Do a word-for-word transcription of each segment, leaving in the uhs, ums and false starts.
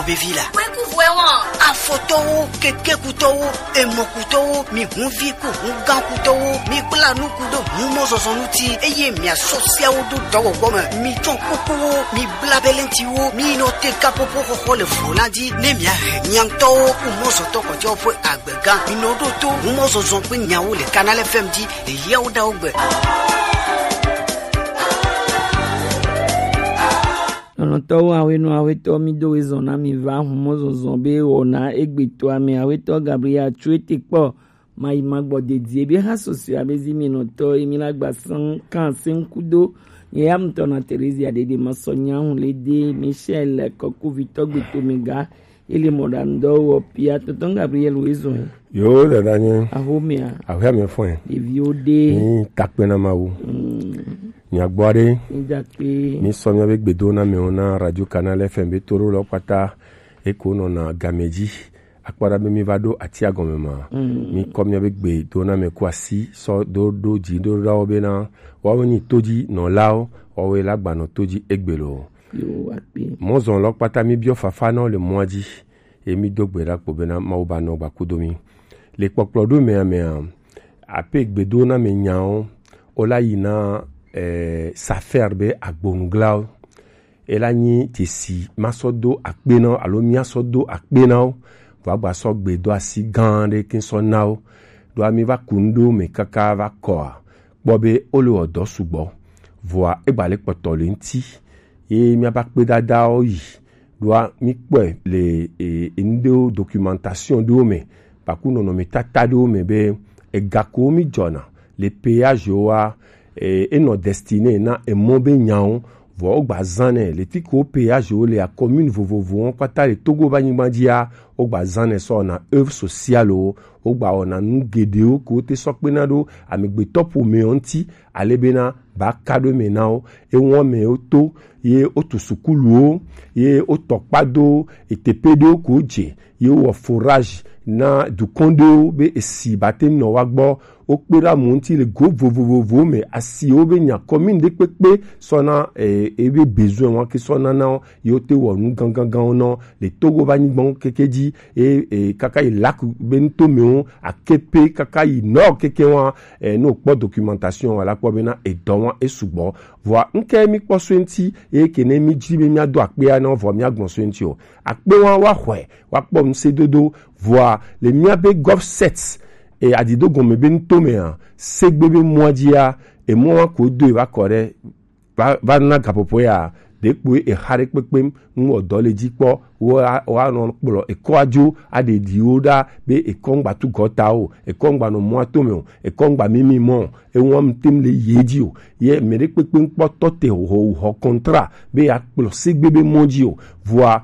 Bevi la. Kpekuvuɛ wɔn. Afɔtɔwo, kekekutɔwo, emɔkutɔwo, mi hunvi ku hungãkutɔwo, mi kpla nuku ɖo humɔzɔzɔ ŋuti, eye miasɔ siawo ɖo dɔwɔwɔ me. Mi tsɔ kukuwo, mi bla belentiwo, mi nɔ te kapopo xɔxɔ le vlo la dzi, ne miahe miaŋtɔwo ku mɔzɔtɔ kɔjɔ ƒe agbega. Mi nɔ ɖo to humɔzɔzɔ ƒe nyawo le Canal F M dzi, le yawo ɖawo gbe. Lɔlɔ̃tɔwo, awenɔ awetɔ, mi do wezɔn na mi va humɔzɔzɔ be wɔna egbetɔa me. Awetɔ Gabriel tso ete kpɔ mayi magbɔ dedie be ha sɔsɔe abe zi mi nɔtɔ emi la gba sɛn kan sɛn kudo. Nye ya mutɔ na Terezia dede masɔ nya hu le de Michel kɔkuvitɔ gbeto me ga. Ele mɔɖaŋudɔwɔwɔ pia tɔntɔn Gabriel wezɔe. Yo, dada nye. Ahomea. Ahomea me fɔe. Ɖeviwo ɖe. Ni takpe na Mawu. Mm. Miagbɔ aɖe. Midakpe. Mi sɔ miabe gbedo na mewo na Radio Canal F M be to ɖo lɔ kpata eko nɔna game dzi. Akpɔ ɖa be mi va ɖo atia gɔme ma. Mm. Mi kɔ miabe gbedo na me ku asi sɔ do ɖo dzi ɖo ɖawo bena woawo nyi to dzi nɔlawo, woawo la gbanɔ to dzi egbe lo. Yo, akpe. Mɔzɔn lɔ kpata mi biɔ fafa na wo le mɔa dzi. Ye mi do gbe ɖa kpo bena Mawu ba nɔ gba kudo mi. Le kpɔkplɔ ɖo mea mea, ape gbedo na me nyawo, o la yi na eh, Safer be agbonuglawo. E la nyi tesi ma sɔ do akpe na wo alo mia sɔ do akpe na wo. Vɔ agba sɔ gbedo asi gã ɖe ke sɔ na wo. Ɖo ami va ku nu ɖo me kaka va kɔa. Kpɔ be wo le wɔ dɔ sugbɔ. Vɔa egba le kpɔtɔ le ŋti. Ye miaba kpedadawo yi. Ɖoa mi kpɔe le e, e, ŋɖewo documentation ɖewo me, baku nɔnɔmetata ɖewo me be ega ko mi dzɔna le péage woa, e, enɔ destiné na emɔ be nyawo, vɔ wogba zãnɛ le fi ko péage wo le commune vovovowo kpata le Togo be anyigba dzia, wogba zãnɛ sɔ wɔna œuvre sociale wo, wogba wɔna nu geɖewo ko te sɔ kpena ɖo amegbetɔ ƒomewo ŋti, ale bena ba ka ɖo eme na wo, eŋɔ me wo to, ye wotu sukuluwo, ye wotɔ kpa do eteƒe ɖewo ko dze, ye wowɔ forage na dukɔ ɖewo be esi ba te nɔ wa gbɔ. Wokpe ɖe amewo ŋuti le go vovovowo me, asiwo be nya commune ɖe kpekpe sɔ na eh, ebe besoin wa ke sɔ na na wo, ye wote wɔ nu ganganganwo nɔ le Togo be anyigbawo keke dzi, e, e, kaka yi lac be nutomewo akepe kaka yi nɔ keke wa, e, ne wokpɔ documentation wa la kpɔ bena edɔ wa esugbɔ. Vɔa ŋke mi kpɔ so ŋti, eye ke ne mi dzi be mia do akpea na vɔ mia gbɔn so ŋti o. Akpe wa wa xɔe, wa kpɔ ŋsedodo, vɔa le mia be gov set, e, adido gɔme be nutomea, segbe be mɔa dzia, emɔ wa ko do e va kɔ ɖe va, va na gaƒoƒo ya, ɖekpoe exa ɖe kpekpem, ŋu wɔ dɔ le dzi kpɔ, wo a-, woanɔ kplɔ ekɔa dzo, aɖe ɖiwo ɖa be ekɔ ŋgba tu gɔta o, ekɔ ŋgba nɔ mɔa tome o, ekɔ ŋgba mimi mɔ o, eŋua ŋutem le ye dzi o. Ye mɛ ɖe kpekpe ŋkpɔ tɔ te ho, ho contrat be ya kplɔ segbe be mɔ dzi o. Vɔa,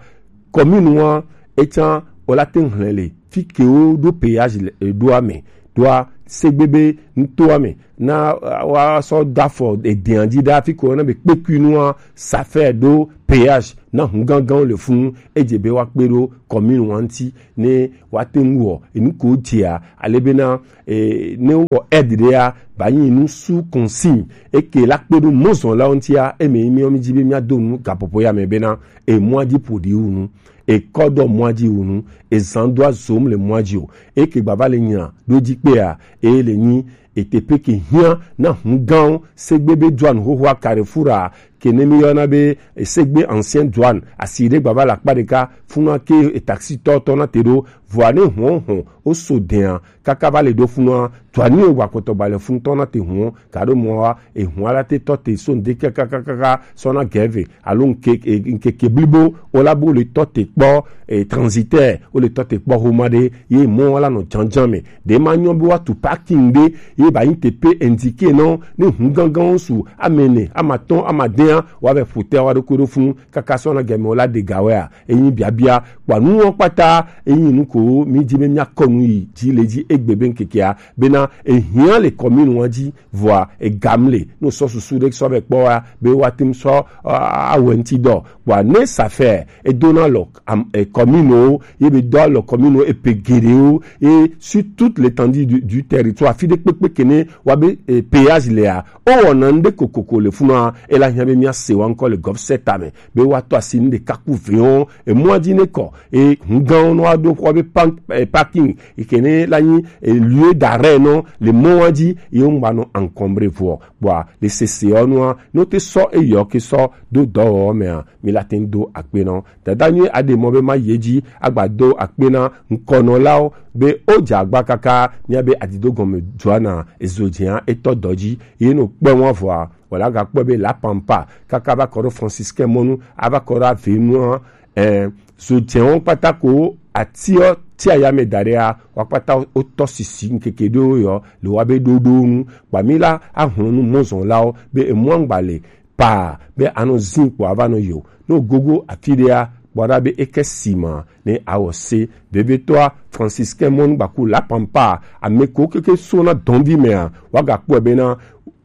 commune wa, etsã, wola te ŋhlɛ le fi ke wo ɖo péage le eɖoa me, ɖoa segbe be nutoa me, na, uh, wa sɔ do afɔ edea dzi ɖa fi ko na be kpekui nua, Safer ɖo péage na hu ganganwo le funu, edze be wa kpe ɖo commune wa ŋti, ne wa te ŋu wɔ enu ko dzea, ale bena, eh, ne wowɔ aide ɖea, ba nyi nu sous consigne, eke la kpe ɖo mɔzɔnlawo ŋtia, eme yi miɔ mi dzi be mia do nu gaƒoƒo ya me bena, emɔa dzi ƒo ɖi wu nu. Ekɔ dɔ mɔa dzi wu nu, ezan do azom le mɔa dzi o. Eke gbava le nyina ɖo dzi kpea, eye le nyi eteƒe ke hiã na hu gãwo, segbe be Douane xoxoa Carrefour a, ke ne mi yɔna be segbe ancien Douane, asi ɖe gbava le akpa ɖeka, funua ke e taxi tɔ tɔ na te ɖo, vɔa ne hɔn hɔn, o so dɛa, kaka va le ɖo funua, Douane wa kɔtɔ ba le fun tɔ na te hɔn, ka ɖo mɔ wa, ehun ala te tɔ te so ŋde kakakaka sɔ na gɛve, alo ŋke-, e, ŋkeke blibo, o la bo le tɔ te kpɔ, e, transitaire, o le tɔ te kpɔ homa ɖe, ye mɔ wa la nɔ janjan me. Ɖe ma nyɔ be wa tu parking ɖe, ye ba yin te pe indiqué nɔ, ne hu gangan wo su, ame ne, ama tɔn, ama dɛn, wa vɛ ƒo te wa ɖo ko ɖo fun, kaka sɔ na gɛmɛ o la de ga wɛ a, e yin biabia, kpa nu wa kpata, e yin nu ko, mi ji be mia kɔ nu yi, ji le ji egbe be ŋkekea, bena, e hiã le commune wa ji, vɔa egam le, no sɔ susu ɖe sɔ be kpɔ wa, be wa tem sɔ, a, awɛ ŋti dɔ. Vɔa ne Safer, e dona lɔ, am, e, commune wo, ye be dɔ lɔ commune wo, e pe geɖewo, et sur toute l'étendue du, du territoire, fi ɖe kpekpe ke ne wa be, e, péage le a, o wɔna ŋɖe kokoko le funua, e la hiã be Mía se wa ŋkɔ le gɔfsɛ tame be wa tɔ asi nu ɖeka ku ve wɔn emɔa dzi ne kɔ e ŋgãwo nɔ aɖo xɔ be pan- eh, parking yi ke ne la nyi eh, lieu d'arrêt nɔ le mɔa dzi ye ŋgba nɔ encombré vɔ kpɔa le sese ɔ nua ne wo te sɔ eyɔ ke sɔ do dɔwɔwɔ mea mi la te ŋu do akpe nɔ. Dada nyuie aɖe mɔ be ma yi edzi agba do akpe na ŋkɔnɔlawo be wodze agba kaka mía be adido gɔme Joana ezo dzia etɔ dɔ dzi ye no kpe wɔn vɔa wòle agakpɔe be La Pampa kaka va kɔ ɖo Franciscain mɔnu ava kɔ ɖo Avenue ɛ zo dzɛwo kpata ko atiɔ ti ayame da ɖea wa kpata wotɔ sisi ŋkeke ɖewo yɔ le wa be ɖoɖo nu kpami la ahlɔnu mɔzɔnlawo be emɔangba le paa be anɔ zin kpɔ ava nɔ yo ne wogogo afi ɖea kpɔ ɖa be eke si ma ne awɔ se vevietɔa Franciscain mɔnugbaku La Pampa ame ko keke so na dɔnvi mea wagakpɔe bena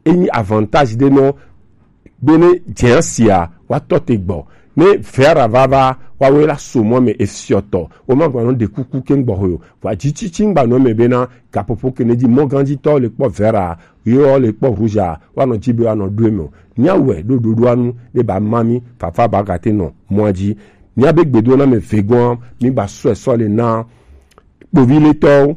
enyi avantage ɖe nɔ bene dzɛa sia wa tɔ te gbɔ ne vera vava wawe la so mɔ me efiɔtɔ wo ma gbanɔ ɖe kuku ke gbɔ ho yo va dzitsitsi gbanɔ me bena gaƒoƒo ke ne dzi mɔgandzitɔ le kpɔ vera yɔ le kpɔ rouge wa nɔ dzi be wa nɔ ɖo me o mía wɛ ɖo ɖoɖoa nu ne ba ma mi fafa ba gate nɔ mɔa dzi mía be gbedo na me vegoa mi gba sɔe sɔ le na kpoviletɔwo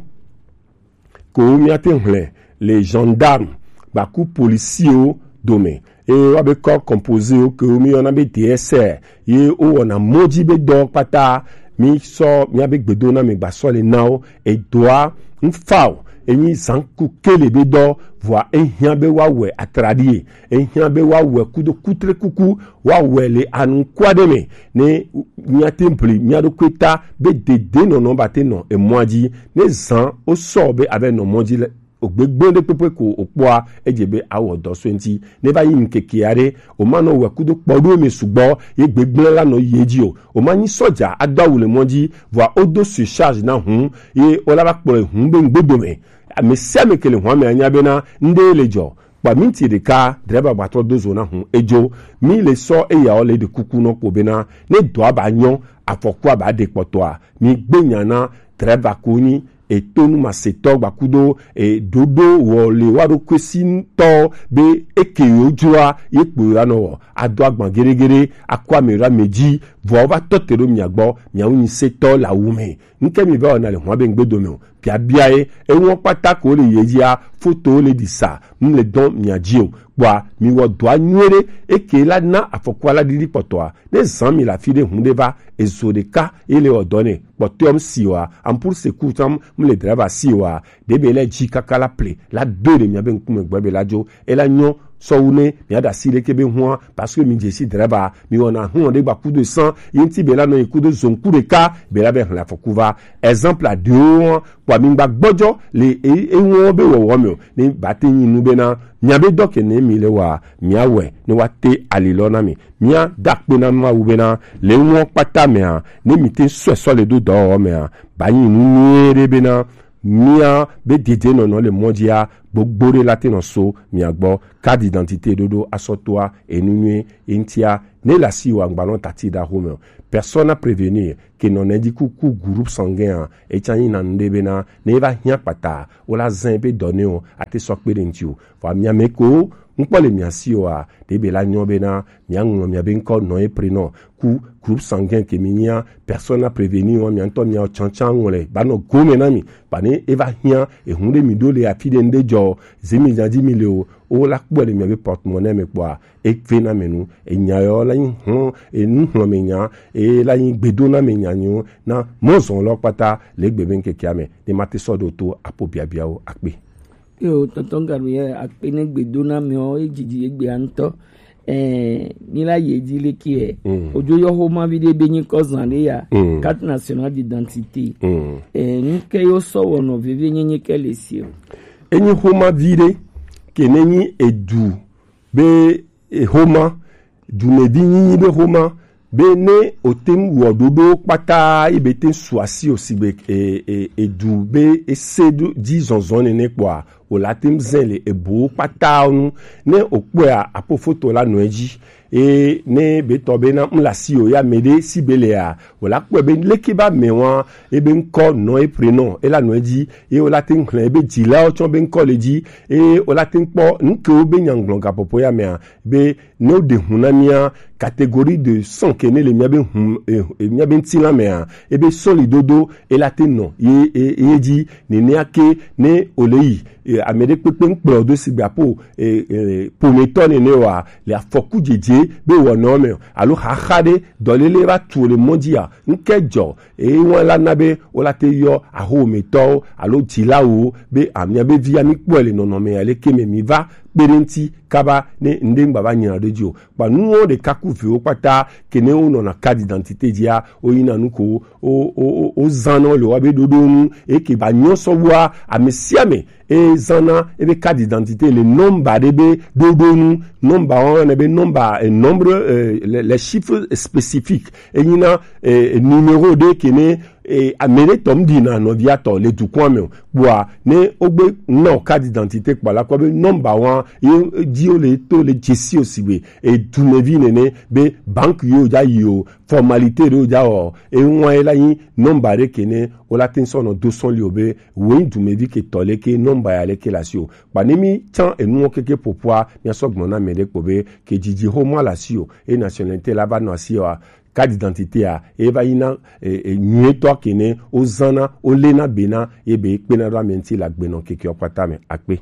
ko míate hlẽ le gendarme gbaku policiwo dome eye woabe corps composéwo ke míyɔna be D S R ye wowɔna mɔ dzi be dɔ kpata mísɔ míabe gbedoname gbasɔ le na wo edoa ŋfao enyi zanku kele be dɔ vɔa ehiã be woawɔe atraɖie ehiã be woawɔe kudo kutrekuku woawɔe le anuku aɖe me ne míate ŋu ʋli mía ɖokui ta be dedenɔnɔ bate nɔ emɔa dzi ne zã wosɔ be ave nɔ mɔ dzi le ogbegbe ɖe kpekpe ko wokpɔa edze be awɔ dɔ so eŋti ne va yi ŋkeke aɖe woma nɔ wɔ kudo kpɔɖo me sugbɔ ye gbegblẽ la nɔ yi edzi o woma nyi sɔdza ado awu le mɔ dzi vɔa wodo surcharge na hũ ye wola va kplɔe hũ be ŋgbedome ame sia ame ke le hũa me anya bena ŋɖe le dzɔ kpa minti ɖeka drɛba gbatɔ do zo na hũ edzo mi le sɔ eyawo le ɖe kuku nɔ kpo bena ne dɔa ba nyɔ afɔkua ba ɖe kpɔtɔa mi gbe nya na drɛba ko nyi etonu masetɔ gbakudo eɖoɖo wɔ le wa ɖo kwesi tɔ be eke yo dzroa ye kpo yo anɔ wɔ ado agban geɖegeɖe akɔ ame ɖo ame dzi vɔ va tɔ te ɖo mia gbɔ miawo nyi setɔ le awu me ŋke mi va wɔna le hɔn be ŋgbedo me o biabia ye eŋɔ kpata ko le ye dzia foto le ɖi sa ŋ le dɔn mia dzi o kpɔa mi wɔ dɔa nyuie ɖe eke la na afɔkua la ɖiɖi kpɔtɔa ne zan mi le afi ɖe hun ɖe va ezo ɖeka ye le wɔ dɔ ne kpɔtɔa m si wa ampur se ku tam m le drava si wa ɖe be le dzi kaka la ple la do ɖe mia be ŋkume gbɔ be la dzo e la nyɔ sɔwu ne mia da si ɖeke be hua parce que mi dze si drava mi wɔna hua ɖe gba kudo san ye ŋti be la nɔ yi kudo zon ku ɖeka be la be hle afɔku va exemple aɖewo kpɔ mi gba gbɔdzɔ le eŋɔ be wɔwɔ me o ne ba te nyi nu be na mia be dɔ ke ne mi le wa mia wɛ ne wa te ali lɔ na mi mia da kpe na Mawu bena le ŋɔ kpata mea ne mi te sɔe sɔ le do dɔwɔwɔ mea ba nyi nu nyuie ɖe bena mia be dede nɔnɔ le mɔ dzia gbogbo ɖe la te nɔ so mia gbɔ carte d'identité ɖoɖo asɔtoa enu nyuie eŋtia ne la si wa ŋgbanɔ tati da xome o persona prévenir ke nɔ ne dzi kuku groupe sanguin a etsa nyi na nu ɖe bena ne va hiã kpata wo la zã ebe dɔ ne o ate sɔ kpe ɖe ŋti o vɔ mia me ko ŋkpɔ le mia si oa ɖe be la nyɔ bena mia ŋlɔ mia be ŋkɔ nɔ ye prenɔ ku groupe sanguin ke mi nyia persona prévenir wa mia ŋtɔ mia tsantsan ŋlɔ ba nɔ gome na mi ba ne eva hiã ehun ɖe mi ɖo le afi ɖe ŋɖe dzɔ zemi dzadzi mi le o wo la kpɔ le mia be porte-monnaie me kpɔa eve na me nu enya yɔ la nyi hlɔ̃ enu hlɔ̃ me nya eye la nyi gbedo na me nya nyo na mɔzɔn lɔ kpata le gbe be ŋkekea me ne ma te sɔ ɖo to apo biabiawo akpe. Yo tɔntɔn Gabriel akpe ne gbedo na me o e dzidzi egbe antɔ eh mi la ye dzi le ke Mm. ojo yɔ ho ma vi de be nyi kɔ zan de ya Mm. Carte nationale d'identité Mm. eh ni ke yo sɔ wɔ nɔ veve nyi nyi ke le si o Enyi xoma vi ɖe ke ne nyi edu be exoma dumevi nyinyi be xoma be ne ote ŋu wɔ ɖoɖowo kpata yi be te ŋu su asi o sigbe e, e, edu be ese ɖo dzi zɔzɔ nene kpɔa o la te ŋu zɛn le ebo kpata nu. Ne o kpɔe a, apo foto la nɔ edzi. Eye ne be tɔ be na ŋu le asi o ya mɛ ɖe si be le a, o la kpɔe be leke ba mɛ wa, ebe ŋkɔ nɔ e prénom e la nɔ edzi. Eye o la te ŋu xlẽ ebe dzilawo tsɔ be ŋkɔ le dzi. Eye o la te ŋu kpɔ nukewo be nyagblɔ gapɔpɔ ya mɛ a, be ne o ɖe hun na mía catégorie de sang ke ne le mía be hun, eh, eh, mía be ŋutilã mɛ a, ebe sɔli dodo e la te nɔ ye, ye, ye dzi. Nenea ke ne o le yi, eh, ame ɖe kpekpe ŋkplɔ do sigbe apo, eh, eh, ƒometɔ nene wa, le afɔku dzedze be wɔnɔ me o, alo xaxa ɖe dɔlele va tu le mɔ dzi a, ŋke dzɔ, eye ŋua la na be o la te yɔ ahometɔwo alo dzilawo be amia be via mi kpɔe le nɔnɔme ya leke me mi va kpe ɖe ŋuti kaba ne ŋɖe ŋgba va nyina ɖe dzi o. Kpa nuwo ɖeka ku viwo kpata ke ne wo nɔna carte d'identité dzia, wo yina nu ko wo, wo, wo, wo zan nɔ le wa be ɖoɖo nu, eke ba nyɔ sɔ wa ame sia ame e zana ebe carte d'identité le nɔmba ɖe be ɖoɖo nu. Nɔmba wa ne be nɔmba, eh, nombre, eh, les, les chiffres spécifiques. E nyina, eh, numéro ɖe ke ne, eh, ame ɖe tɔ ŋɖi na nɔvia tɔ le dukɔa me o. Kpɔa ne wogbe na o carte d'identité kpɔ la kpɔ be nɔmba wa ye dzi wo le to le dzesi o sigbe, eh, dumevi nene be banque yo ja yi o, formalité ɖewo ja wɔ, e ŋua ye la nyi nɔmba ɖe ke ne wo la te ŋu sɔ nɔ do sɔn li o be wo nyi dumevi ke tɔ leke nɔmba ya leke le asi o. Kpa ne mi tsã enuwo keke ƒoƒua, mia sɔ gblɔ na mɛ ɖe kpo be ke dzidzi xoma le asi o, e nationalité la va nɔ asi o a, carte d'identité a, e va yi na, e, e, nyuietɔ ke ne wo zana, wo le na be na, ye be kpena ɖo ame ŋuti le agbenɔ kekeɔ kpata me. Akpe.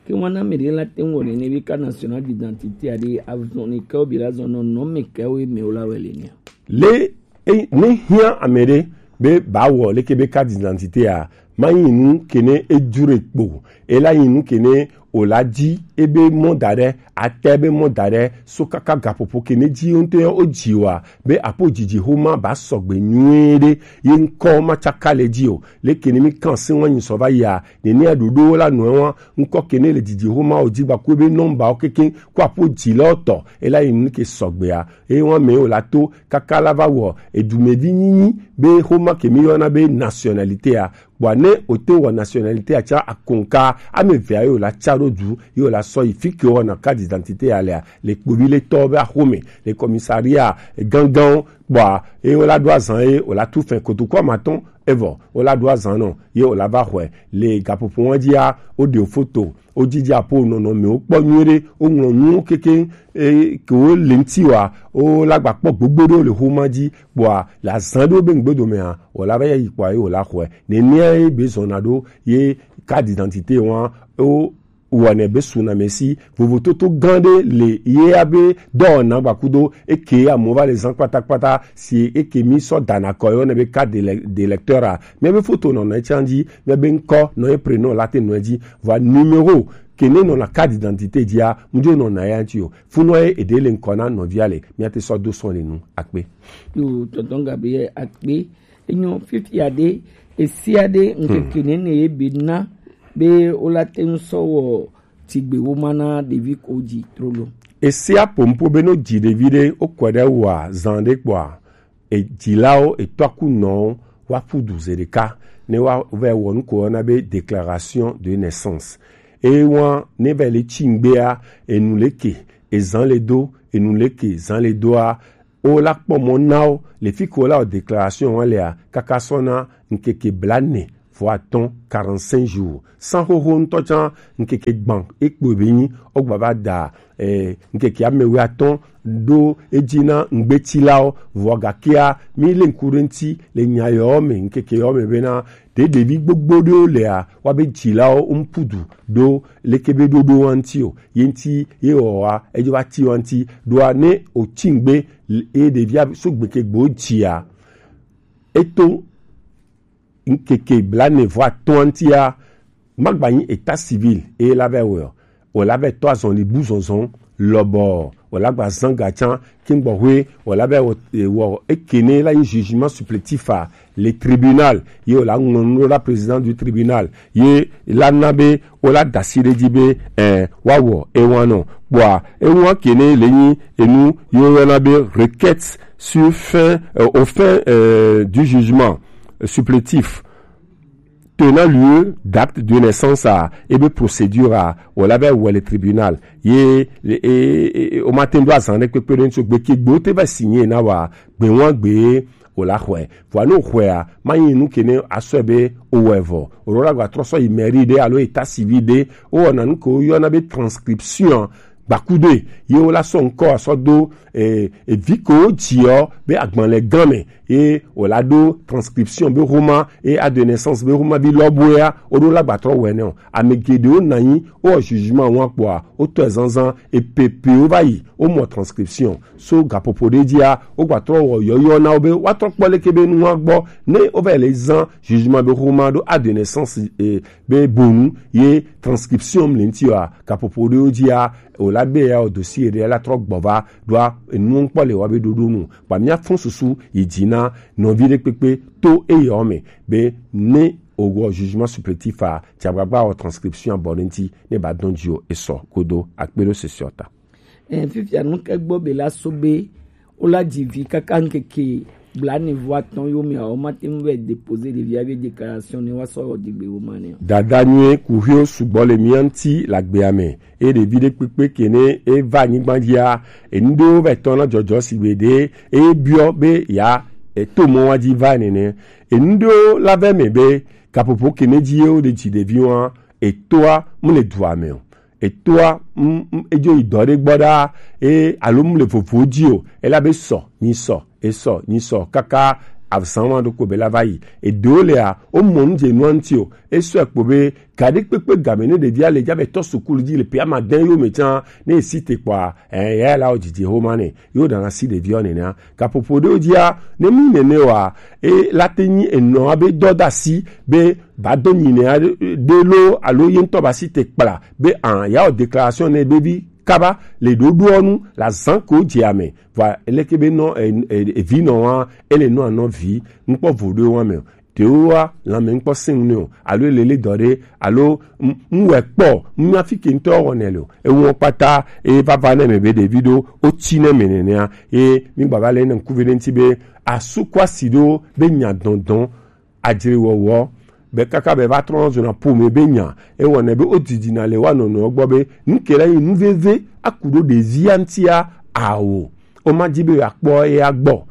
Ke ŋua na ame ɖe la te ŋu wɔ nene be carte nationale d'identité a ɖe azɔli kewo bi la zɔn nɔ nɔ me kewo me wo la wɛ le nia. Le e, ne hiã ame ɖe be ba wɔ leke be carte d'identité a, ma nyi nu ke ne e dure kpo, e la nyi nu ke ne o la dzi ebe mɔ da ɖe, ate be mɔ da ɖe, so kaka gaƒoƒo ke ne dzi wo ŋutɔ o dzi wa, be apo dzidzi xoma ba sɔgbe nyuie ɖe, ye ŋkɔ ma tsaka le dzi o. Leke ne mi kan se ŋua nyi sɔ va yia, nenea ɖoɖowo la nɔe wa, ŋkɔ ke ne le dzidzi xoma o dzi gba ku ebe nɔmba wo keke, ku apo dzi lɔ tɔ, e la nyi nu ke sɔgbea. Eye ŋua me o la to kaka la va wɔ edumevi nyinyi be xoma ke mi yɔna be nationalité a. Kpɔa ne o te wɔ nationalité a tsã akonka, ame evea ye o la tsa ɖo du, ye o la sɔ yi fi ke wɔna carte d'identité a lea, le kpovi le tɔ be axome, le commissariat gangan, kpɔa ye o la ɖo azan ye o la tu fɛn kotoku amatɔn, evɔ o la ɖo azan nɔ, ye o la va xɔe le gaƒoƒo wa dzia, o ɖe o foto, wo dzidzi apo nɔnɔmewo kpɔ nyuie ɖe, woŋlɔ nuwo kekeŋ, e, ke wo le ŋuti wa, wo la gba kpɔ gbogbo ɖewo le xoma dzi, kpɔa le azan ɖewo be ŋgbedomea, wòla va yi kpɔa ye wòla xɔe. Nenea ye be zɔna ɖo ye carte d'identité wa wo wɔnɛ be sunamesi vovototo gã ɖe le ye abe dɔwɔna gbakudo eke amewo va le zan kpatakpata si eke mi sɔ dana kɔ ye wɔnɛ be carte d'élec-, d'électeur a. Míabe foto nɔna etsã dzi, míabe ŋkɔ nɔ ye prénom la te nɔ edzi, vɔa numéro ke ne nɔna carte d'identité dzia, ŋdzo nɔna ya ŋuti o. Funɔ ye eɖe le ŋkɔ na nɔvia le, míate sɔ do sɔn le nu. Akpe. Yo, tonton Gabriel, akpe. Enyo, fifia ɖe, esia ɖe, ŋkeke nene ye be na, be wola te ŋu sɔ wɔ tigbe wo ma na ɖevi ko dzi trolo. Esia pompo be no dzi ɖevi ɖe, wokɔe ɖe wòa zan ɖe kpɔa, edzilawo, etɔkunɔwo, woaƒu du zi ɖeka, ne woava wɔ nu ko woyɔna be déclaration de naissance. Eye woa, ne va le tsi ŋgbea, enu leke ezan le do, enu leke zan le doa, wola kpɔ mɔ na wo le fi ke wola wɔ déclaration wa lea, kaka sɔ na ŋkeke blaene vɔ atɔ̃, quarante-cinq jours. San xoxo ŋutɔ tsã ŋkeke gbã ekpo be nyi wogba va da, eh, ŋkeke amewuiatɔ̃ ɖo edzi na ŋgbetilawo, vɔ gakea, mi le ŋku ɖe ŋuti le nya yawo me, ŋkeke yawo me bena, ɖe ɖevi gbogbo ɖewo lea, woabe dzilawo ŋku du ɖo leke be ɖoɖo wa ŋuti o. Ye ŋuti ye wɔ wa, edzo va ti wa ŋuti. Ɖoa ne wotsi ŋgbe, ye ɖevia so gbeke gbe wodzia, eto ŋkeke blaene vɔ atɔ̃ ŋutia, magba nyi état civil eye la va wɔ o, la va tɔ azɔli bu zɔnzɔn lɔbɔ, o la gba zan ga tsã, ke ŋgbɔ hoe, o la va wɔ, wɔ eke ne la nyi jugement supplétif a, le tribunal, ye o la ŋlɔ nu ɖo la président du tribunal, ye la na be o la da asi ɖe edzi be, eh, woawɔ ewa nɔ. Kpɔa, ewa ke ne le nyi enu ye woyɔna be requête sur fin, euh, au fin, euh, du jugement, euh, supplétif. tenant lieu d'acte de naissance a, ebe procédure a, o la be wɔ le tribunal. Ye e, e, e, o ma te do azan ɖe kpekpe ɖe ŋuti o, gbe ke gbe o te va signer na wa, gbe wan gbe o la xɔe. Vɔa ne o xɔe a, ma nyi nu ke ne a sɔe be o wɔ evɔ. O ɖo la gba trɔ sɔ yi mairie ɖe alo état civil ɖe, o wɔna nu ke o yɔna be transcription gbakudoe, ye wo la sɔ ŋkɔ asɔ do e, evi ke wo dzi ɔ be agbalẽ gã me, ye wo la ɖo transcription be homa, ye acte de naissance be homa bi lɔ boea, wo ɖo la gba trɔ wɛ nɛ o. Ame geɖewo na anyi, wo wɔ jugement wa kpɔa, wo tɔ zanzan, epepewo va yi, wo mɔ transcription. So gaƒoƒo ɖe dzia, wo gba trɔ wɔ yɔyɔ na wo be woatrɔ kpɔ leke be nua gbɔ, ne wo va yi le zan jugement be homa ɖo acte de naissance e, be bonu ye transcription le ŋuti wa, gaƒoƒo ɖewo dzia, o la be ya o dossier ɖe la trɔ gbɔ va ɖoa enuwo ŋkpɔ le wa be ɖoɖo nu. Kpa mía fɔn susu yi dzi na nɔvi ɖe kpekpe to eya me be ne o wɔ jugement supplétif a, tsi agbagba wɔ transcription abɔ ɖe ŋuti ne ba dɔn dzi o esɔ kodo akpe ɖo sesiɔ ta. Ɛɛ, fifia nu ke gbɔ be la so be wo la dzi vi kaka ŋkeke blaene vɔ atɔ̃ yo mea, wo ma te ŋu vɛ déposer ɖevia be déclaration ne wa sɔ wɔ dzigbe wo ma ne o. Dada nyuie kuxio sugbɔ le mía ŋuti le agbea me, eye ɖevi ɖe kpekpe ke ne e va anyigba dzia, enu ɖewo vɛ tɔ na dzɔdzɔ si gbe ɖe e biɔ be ya e to mɔ wa dzi va nene. Enu ɖewo la vɛ me be gaƒoƒo ke ne dzi ye wo ɖe dzi ɖevi wa, etoa mu le dua me o. Etoa, mm, mm, edzo yi dɔ ɖe gbɔ ɖaa, e, alo mu le vovo dzi o. Ela be sɔ, nyi sɔ, e sɔ, nyi sɔ, kaka azan wa ɖo ko be la va yi. Eɖewo lea, wo mɔ nu dze nua ŋuti o. E sɔ ekpo be, ga ɖe kpekpe game ne ɖevia le dza be tɔ sukulu dzi le pe ama dɛn yo me tsã, ne e si te kpɔa, ɛ, ya la wo dzidzi homa ne, yo ɖana si ɖevia nenea. Gaƒoƒo ɖewo dzia, ne mi nene wa, e la te nyi enɔ abe dɔdasi be ba do nyi ne aɖe lo alo ye ŋutɔ ba si te kpla be an ya wɔ déclaration ne be vi kaba le ɖoɖoɔ nu la zan ko dze ame va eleke be nɔ e, e, evi nɔ wa ele nɔ anɔ vi ŋkpɔ vo ɖo wa me o. Ɖewoa lãme ŋkpɔ sẽŋ nɛ o, alo elele dɔ ɖe, alo ŋ- ŋwɛ kpɔ ŋnya fi ke ŋutɔ wɔnɛ le o. Ewɔ kpata eye vava ne me be ɖevi ɖo wotsi ne me nenea, ye mi gbava le ne ŋkuvi ɖe ŋuti be asu kɔ asi ɖo be nya dɔndɔn adzre wɔwɔ be kaka be va trɔ zɔna ƒome be nya ewɔnɛ be wodidina le wa nɔnɔewo gbɔ be nu ke la yi nu veve aku ɖo ɖevia ŋutia awo. Woma di be yeakpɔ eya gbɔ.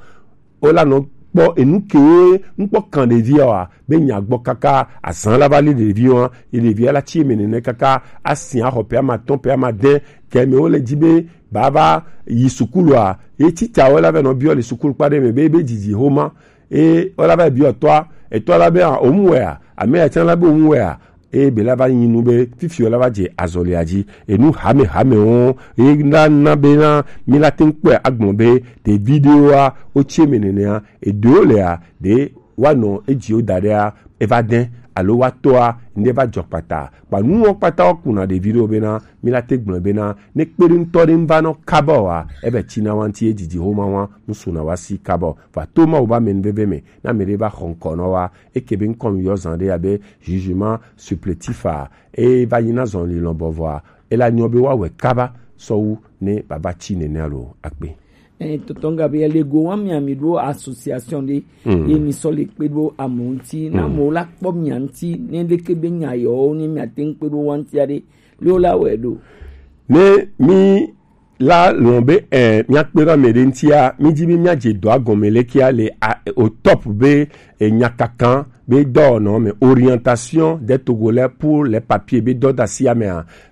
Wola nɔ kpɔ enu kewo ŋkpɔ kan ɖevia wa be nya gbɔ kaka azan la va li ɖevi wa, ye ɖevia la tsi eme nene kaka asi axɔ pe ama tɔn pe ama de ke me wole dzi be bava yi sukulu a, ye titsa wo la va nɔ biɔ le sukulu kpa ɖe me be be dzidzi homa. E wola va biɔ tɔa, etɔ la be a omu wɛ a, ame ya tsã la be omu wɛ a. Eye be la va nyi nu be fifi wo la va dze azɔlia dzi. Enu hame hame wo ye na na be na mi la te ŋu kpɔe agblɔ be ɖevi ɖewoa wotsi eme nenea, eɖewo lea ɖe woanɔ edziwo da ɖea eva de alo woatɔa ŋɖe va dzɔ kpata. Kpa nuwo kpata wokuna ɖevi ɖewo bena mi la te gblɔe bena ne kpeɖeŋutɔ ɖe ŋu va nɔ kaba oa, ebe tsina wa ŋuti ye didi homa wa ŋu suna wa si kaba o. Va to Mawu be amenuveve me, ne ame ɖe va xɔ ŋkɔ nɔ wa, eke be ŋkɔ ŋu yɔ zan ɖe abe jugement supplétif a, e va nyi na zɔn lilɔn bɔvɔa, e la nyɔ be woawɔe kaba sɔwu ne baba tsi nenea lo akpe. Eh, tonton Gabriel, ego wa mia mi ɖo association ɖe, mm, ye mi sɔ le kpe ɖo amewo ŋuti, na, mm, amewo la kpɔ mia ŋuti, ne ɖeke be nya yewo ne mia te ŋu kpe ɖo wa ŋuti aɖe, le wo la wɔe ɖo. Ne mi la lɔn be, eh, míakpe ɖe ame ɖe ŋutia, mídi be míadze dɔa gɔme lekea le a, au top be, eh, nyakakan be dɔwɔnɔ me, orientation des Togolais pour les papiers be dɔdasi amea,